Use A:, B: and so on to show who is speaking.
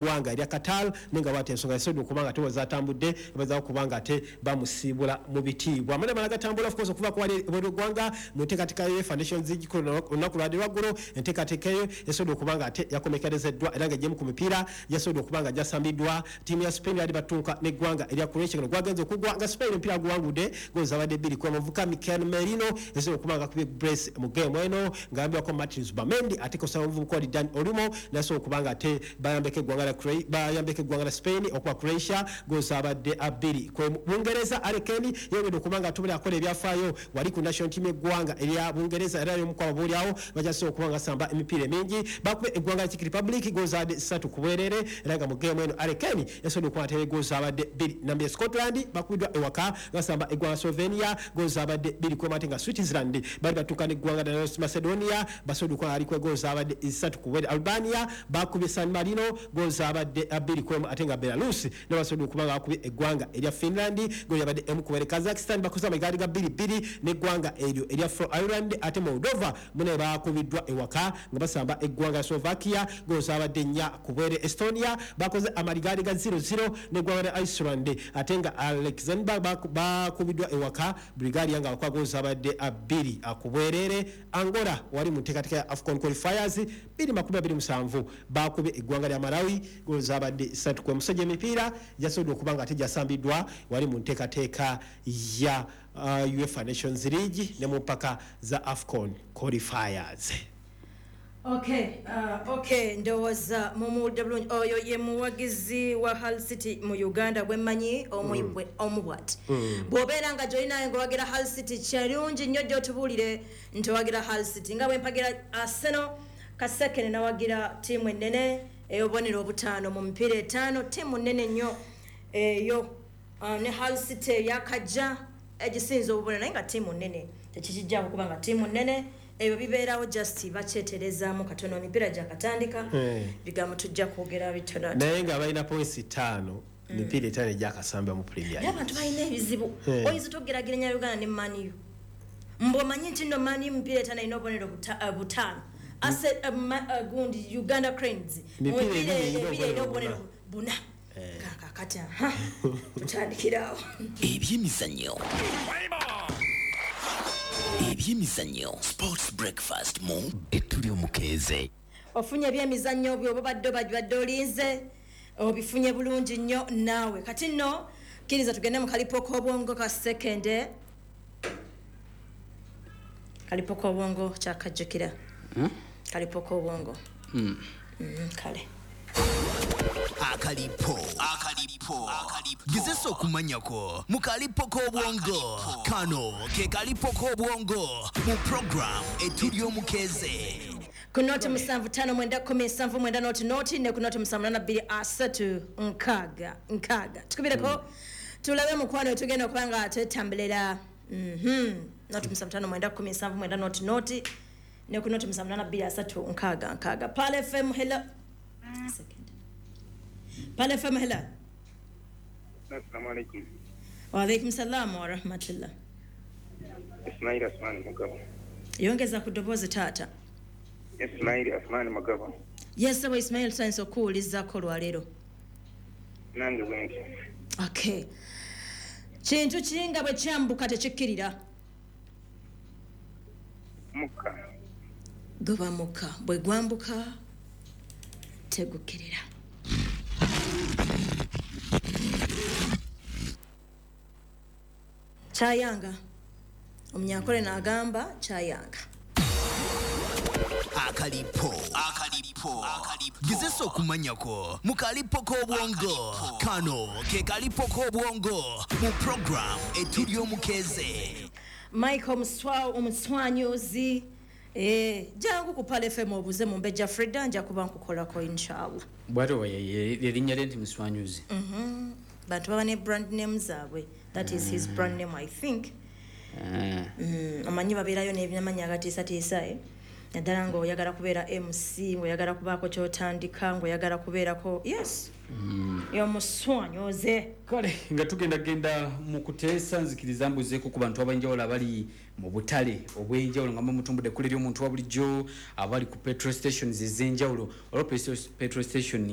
A: Eggwanga erya Qatar, naye nga bwati ensonga yasobodde okuba nga ate zatambudde bazaako kuba nga ate bamusiibula mu bitiibwa. Amanya amala gatambula, of course, okuva ku wali ebweru w'eggwanga mu nteekateeka ya UEFA Nations League olunaku lwadde lwaggulo. Enteekateeka eyo yasobodde okuba nga ate yakomekerezeddwa era nga egyemu ku mipiira gyasobodde okuba nga gyasambiddwa, ttiimu ya Spain yali batunka n'eggwanga erya Croatia. Guno gwagenze okugwa nga Spain omupiira guwangudde goolo zabadde 2 ku omuvubuka Mikel Merino yasobodde okuba nga akubye brace mu game eno ng'ayambibwako Martin Zubimendi, ate kosaba omuvubuka oli Dani Olmo nasobola okuba nga ate bayambeko eggwanga la Spain okuba Croatia goolo zabadde 2. Bungereza, Harry Kane yongedde okuba nga atubula akola ebyafaayo wali ku national team y'eggwanga erya Bungereza, era y'omu ku ababoolyawo bakyasobola okuba nga asamba emipiira emingi. Bakube eggwanga la Czech Republic goolo zabadde 3 ku bwereere, era nga mu game eno Harry Kane yasobodde okuba nga goolo zabadde 2. Nambye Scotland bakubiddwa ewaka nga basamba eggwanga Slovenia goolo zabadde 2 ku emu, ate nga Switzerland bali batuuka n'eggwanga lya North Macedonia, basobodde okuba nga aliko goolo zabadde 3 ku bwereere. Albania bakubye San Marino goolo zabadde 2 ku 1, ate nga Belarus ne basobodde okuba nga bakubye eggwanga erya Finland goolo yabadde 1 ku bwereere. Kazakhstan bakoze amagaali ga 2-2 n'eggwanga eryo erya Faroe Island, ate Moldova mune bakubiddwa ewaka nga basamba eggwanga lya Slovakia goolo zabadde 4 ku bwereere. Estonia bakoze amaligaali ga 0-0 n'eggwanga lya Iceland, ate nga Luxembourg bakubiddwa ewaka Bulgaria nga bakuba goolo zabadde 2 ku bwereere. Angola wali mu nteekateeka ya AFCON qualifiers 2027 bakubye eggwanga lya Malawi goolo zabadde 3 ku emusajja. Emipiira gyasobodde okuba nga ate gyasambiddwa wali mu nteekateeka ya UEFA Nations League ne mu mpaka za AFCON qualifiers.
B: Okay, ndowooza mumuwulidde bulungi. Oyo ye muwagizi wa Hull City mu Uganda gwemmanyi omu bwati. Bw'obeera nga gyolinayo ngaowagira Hull City, kirungi nnyo gy'otubuulire nti owagira Hull City, nga bwe mpagira Arsenal. Kasekene nawagira ttiimu ennene ey'obubonero obutaano mu mipiira etaano, ttiimu nnene nnyo eyo. Ne Hull City eyakajja egisinza obubonero, naye nga ttiimu nnene tekikijjako kuba nga ttiimu nnene. Ebyo bibeerawo, just bakyeterezaamu katono, emipiira gyakatandika. Bigambo tujja kwogera bitono.
A: Naye nga balina points 5, emipiira 5 egyakasambibwa mu Premier.
B: Naye abantu balina ebizibu. Oyinza togeraageranya Uganda ne Man U, mbw'omanyi nti nno Man U mipiira 5 erina obubonero butaano. Ase gundi Uganda Cranes mu
A: Mipiira
B: mipiira
A: 2 erina
B: 2 erina
A: obubonero
B: obubonero buna. Kakati aha tutandikirawo.
C: Ebyemizannyo, ebyemizannyo, Sports Breakfast mu Ettuli Omukeeze.
B: Ofunye ebyemizannyo byoba badde obadde olinze, obifunye bulungi nnyo naawe. Kati nno kkiriza tugende mu kalipo k'obwongo ka sekende. Kalipo k'obwongo kyakajjukira, kalipo k'obwongo. Kale.
C: Akalipo, akalipo, gezesa okumanyako mu kalipo k'obwongo. Kano ke kalipo k'obwongo mu program Etuli Omukeeze.
B: Ku 075 910 79 00 ne ku 078 230 60 60. Tukubireko tulabe mukwano tugenda okuba nga twetambulira. 075 910 79 00 ne ku 078 230 60 60. Pearl FM, hello. Second. Pearl FM, hello.
D: Assalamu alaikum.
B: Waalaikum salam warahmatullah.
D: Ismail Asmani Mugabo.
B: Yongeza ku ddoboozi, taata.
D: Ismail Asmani Mugabo.
B: Yesebo Ismail, tuyinza okuwulizaako olwaleero?
D: Nange bwenti.
B: Okay, kintu kinga bwe kyambuka tekikkirira?
D: Mukka.
B: Guba mukka, bwe gwambuka tegukkirira. Kyayanga omunyankole n'agamba kyayanga.
C: Akalipo, akalipo, gezesa okumanyako mu kalipo k'obwongo. Kano ke kalipo k'obwongo mu program Etuli Omukeeze.
B: Michael Omuswanyuzi. Jangu ku Pearl FM obuze mu Mbejja Frida, nja kuba nkukolako inshallah.
E: Bwatyo erinnya lye nti Muswanyuzi?
B: Bantu baba ne brand name zaabwe. That is his brand name, I think. Omanyi babeerayo n'ebinamanya agatiisatiisa, eh? Naddala ng'oyagala kubeera MC, ng'oyagala kubaako kyotandika, ng'oyagala kubeerako, yes, yomuswanyoze.
E: Kale nga tugenda genda mu kuteesa, nzikiriza mbuzeeko ku bantu ab'enjawulo abali mu butale obw'enjawulo nga mutumbudde ekkula ery'omuntu wa bulijjo, abali ku petrol stations ez'enjawulo. Olwo petrol station